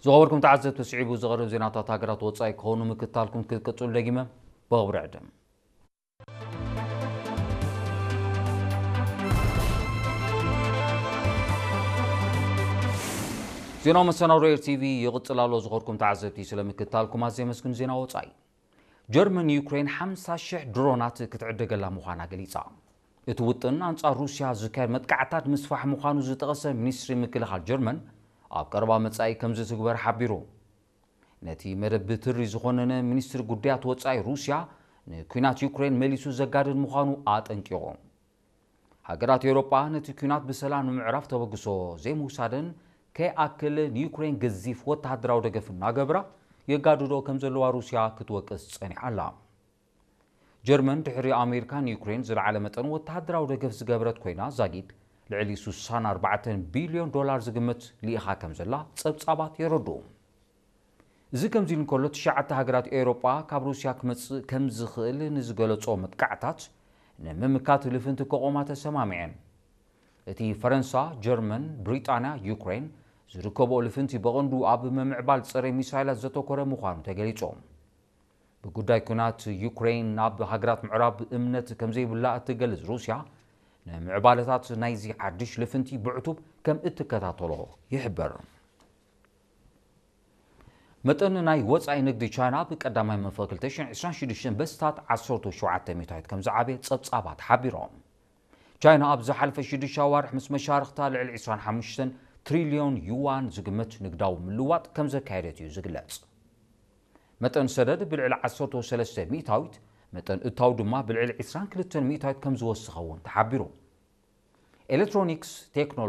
ዝኸበርኩም ተዓዘብቲ፣ ስዒቡ ዝቐርብ ዜናታት ሃገራት ወጻኢ ክኾኑ ምክታልኩም ክትቅጽሉ ደጊመ ብኽብሪ ዕድም። ዜናዊ መሰናዶ ኤር ቲቪ ይቕጽል ኣሎ። ዝኸበርኩም ተዓዘብቲ፣ ስለ ምክታልኩም ኣዝየ ኣመስግን። ዜና ወጻኢ። ጀርመን ዩክሬን ሓምሳ ሽሕ ድሮናት ክትዕደገላ ምዃና ገሊጻ። እቲ ውጥን ኣንጻር ሩስያ ዝካየድ መጥቃዕታት ምስፋሕ ምዃኑ ዝጠቐሰ ሚኒስትሪ ምክልኻል ጀርመን፣ ኣብ ቀረባ መጻኢ ከም ዝትግበር ሓቢሩ። ነቲ መደብ ብትሪ ዝኾነነ ሚኒስትሪ ጉዳያት ወጻኢ ሩስያ ንኲናት ዩክሬን መሊሱ ዘጋድድ ምዃኑ ኣጠንቂቑ። ሃገራት ኤውሮጳ ነቲ ኲናት ብሰላም ንምዕራፍ ተበግሶ ዘይምውሳደን ከይኣክል ንዩክሬን ገዚፍ ወተሃደራዊ ደገፍ እናገብራ የጋድዶ ከም ዘለዋ ሩስያ ክትወቅስ ጸኒሓ ኣላ። ጀርመን ድሕሪ ኣሜሪካ ንዩክሬን ዝለዓለ መጠን ወተሃደራዊ ደገፍ ዝገበረት ኮይና፣ ዛጊድ ልዕሊ ስሳን ኣርባዕተን ቢልዮን ዶላር ዝግመት ልኢኻ ከም ዘላ ጸብጻባት የረድኡ። እዚ ከምዚ ኢሉ እንከሎ፣ ትሽዓተ ሃገራት ኤውሮጳ ካብ ሩስያ ክመጽእ ከም ዝኽእል ንዝገለጾ መጥቃዕታት ንምምካት ልፍንቲ ክቖማ ተሰማሚዐን። እቲ ፈረንሳ፣ ጀርመን፣ ብሪጣንያ፣ ዩክሬን ዝርከብኦ ልፍንቲ ብቐንዱ ኣብ ምምዕባል ጸረ ሚሳይላት ዘተኮረ ምዃኑ ተገሊጹ። ብጉዳይ ኲናት ዩክሬን ናብ ሃገራት ምዕራብ እምነት ከም ዘይብላ እትገልጽ ሩስያ፣ ንምዕባለታት ናይዚ ሓድሽ ልፍንቲ ብዕቱብ ከም እትከታተሎ ይሕበር። መጠን ናይ ወጻኢ ንግዲ ቻይና ብቀዳማይ መንፈ ክልተ ሽሕን ዕስራን ሽዱሽተን በስታት ዓሰርተ ሸውዓተ ሚእታዊት ከም ዝዓበየ ጸብጻባት ሓቢሮም። ቻይና ኣብ ዝሓለፈ ሽዱሽተ ኣዋርሕ ምስ መሻርኽታ ልዕሊ ዕስራን ሓሙሽተን ትሪልዮን ዩዋን ዝግመት ንግዳዊ ምልዋጥ ከም ዘካየደት እዩ ዝግለጽ። መጠን ሰደድ ብልዕሊ ዓሰርተ ሰለስተ ሚእታዊት፣ መጠን እታው ድማ ብልዕሊ ዕስራን ክልተን ሚእታዊት ከም ዝወሰኸ እውን ተሓቢሩ። ኤሌክትሮኒክስ፣ ቴክኖሎጂ፣